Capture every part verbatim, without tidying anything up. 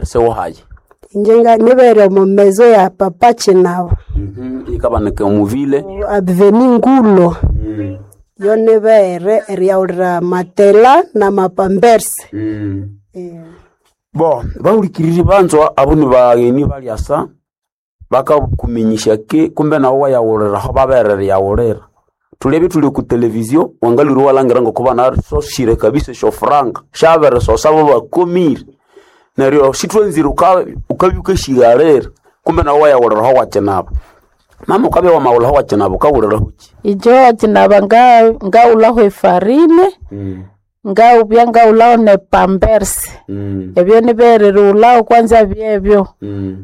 Sewohaye. Inje nga nibere omo mezo ya Papa Kinaba. Mhm ikabaneka omuvile. Avenue Ngulo. Yo nibere eryaghulira matela na mapampersi. Eh. Bo bahulikiriri banzwa abo ni bagheni balyasa bakakuminyisya ki kumbe nawe wayaghuliraho babere eriyaghulira. Thulebye thuli oku televizio wangalhwire iwalhangira ngoko banasosyire kabisa esyofuranga syabirisosa bo bakomire. Neryo sithwanzire uka ukabya wukasyighalira kumbe nawe wayaghuliraho wakinaba. Mama wukabya wamaghulhaho wakinaba wukaghulirahoki? Inje wakinaba nga ngaghulhaho efarine, ngawubya ngaghulhaho ne pampersi. Ebyo nibere erighulhaho kwanza byebyo.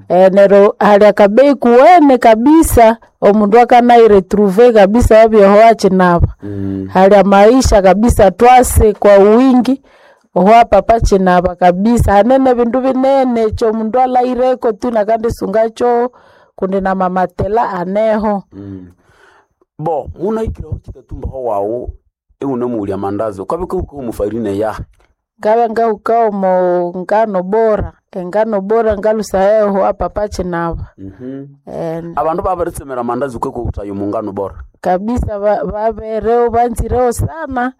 Eh, neryo hali akabeyi kuwene kabisa omundu akanayiretrouver kabisa wabyoho wakinaba. Hali amaisha kabisa twase kwa wingi oho Papa Kinaba kabisa hanene bindu binene ekyo omundu alhaireko tu nakandisungacho kundi na mamatela aneho. Bo munahikireho kitatumbaho wawu iwunemughulya amandazi wukabya wukahukagha omu farine yahi? Ngabya ngahuka omo ngano bora, engano bora ngalusayeho owa Papa Kinaba. Eh, Abandu babiritsemera amandazi wukakwathaya omu ngano bora. kabisa ba- babereho banzireho sana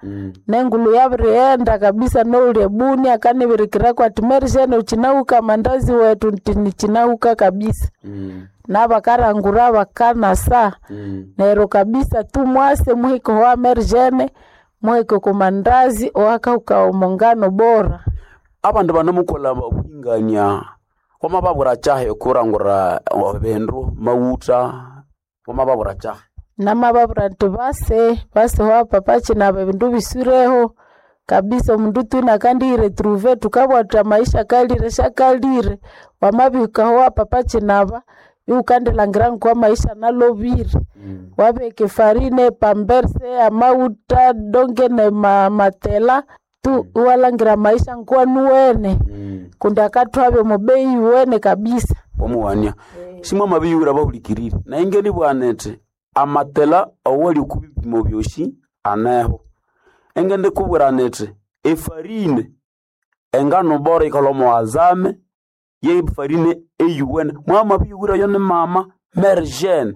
nengulu yabirighenda kabisa nouli ebuni akanibirikirako ati Mary ukinahuka mandazi wetu nti nichinahuka kabisa nabakarangura bakanasa neryo kabisa tu mwase muhike owa Mary Jane muhike okumandazi owakahuka omo ngano bora. Abandu banamukolha obuhingania wamababwira kyahi okurangura ebindu mawutha wamababwira kyahi? Namababwira nti base base owa Papa Kinaba ebindu bisureho kabisa omundu tu inakandiyiretrouver thukabugha thuthi amaisha akalire syakalire wamabihika owa Papa Kinaba iwukandilhangira ngoko amaisha analobire. Wabihika efarine, epamperse, amawutha donge nema matela tu iwalhangira amaisha ngokwanuwene kundi akathwabya omo beyi yuwene kabisa. Wamuwania simwamabiyughira abahulikiriri nayi ngenibugha nithi amatela awali oku bipimo byosi aneho. Engendikubwira nithi efarine engano bora yikalhwa omo azame ye farine eyuwene mwamabiyughirayo ni mama Mary Jane.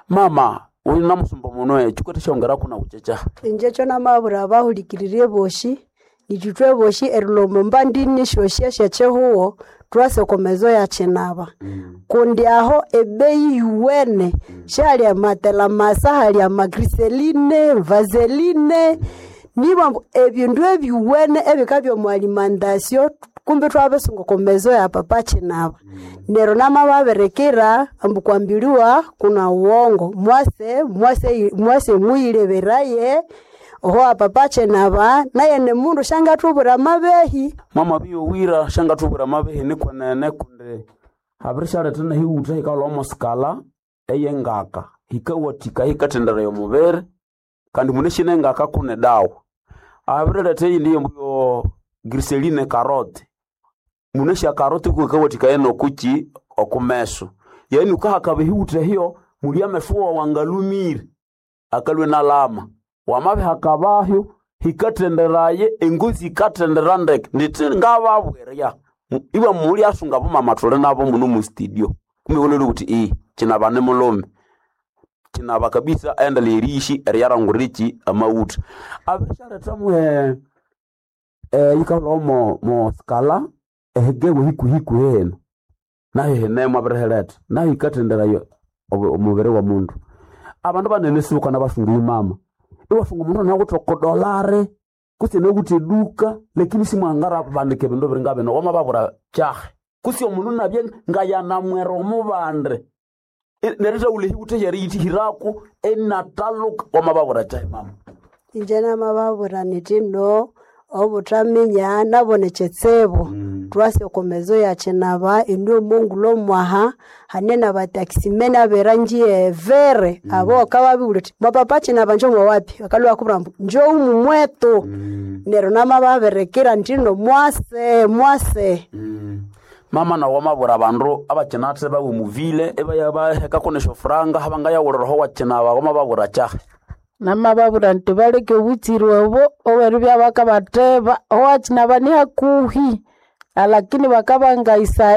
Mama wunamusumba muno kyikwethe esyongeraku nawu kyekyahi? Inje ekyo namabwira abahulikiriri bosi ithwe thwebosi erilhwa omo mbandini syosi esyekyihugho thwasa oko mezo ya Kinaba. Kundi aho ebeyi yuwene syahali amatela masa hali amagriseline, vaseline nibambu ebindu ebyuwene ebikabya omo alimentation kumbi ithwabisunga oko mezo ya Papa Kinaba. Neryo namababirikira ambu kwambiliwa kuna uwongo mwase mwase mwase muyileberaye oho Papa Kinaba naye ni mundu syangathubwira amabehi. Mwamabiyowira syangathubwira amabehi nikwenene kundi habirisyaletha nehiwutha hikalhwa omo sikala eyengaka hikawathikaya hikathenderaya omubiri kandi munasi nengaka kune dawa. Abiriletha eyindi yembuyo griseline carrot munasi ecarrot kuyikawathikaya nokukyi okumeso. Yani wukahakaba ehiwutha ehyo muli ameso wawu angalhumire akalhwa inalhama. Wamabihakabahyo hikathenderaye engozi yikathendera ndeke nithi ngababwirya ibwa mulyasunga abomama thuli nabo muno mu studio kumbe iwalhwalya wuthi iya Kinaba ni mulhume. Kinaba kabisa ayendeleye eriyishi eriyarangura ekyi amawutha. Abirisyaletha mwe yikalhwa mo mo sikala ehigewa hikuhikuhi hino nayo hinemu abirihiletha nayo yikathenderaya omubiri womundu. Abandu banene sibukana basunga mama iwasunga omundu anawithe oko dolare kutse anawithe eduka lakini simwangabandika ebindu ebiringa bino wamababwira kyahi kutse omundu inabya ngayanamwera omubandi neryo ithawulha ehiwutha ehyeriyithihirako inathalhuka wamababwira kyahi mama? Inje namababwira nithi no obuthaminya nabo nikyitsibu. Thwasa oko mezo ya Kinaba ino omongulo mwaha hane nabataximene aberangi evere abo wukababibulya wuthi mwa Papa Kinaba njo mwawapi bakalhwa ibakubwira ambu njowu mwetu. Neryo namababirikira indi mwase mwase. Mama nawu wamabwira abandu abakyinathe bawe omuvile ibaya bahekako nesyofuranga abangayaghuliraho wakyinaba wamababwira kyahi? Namababwira nti baleke obutsiri obo oberibya bakabatheba owakinaba ni hakuhi Alakini bakabanga isa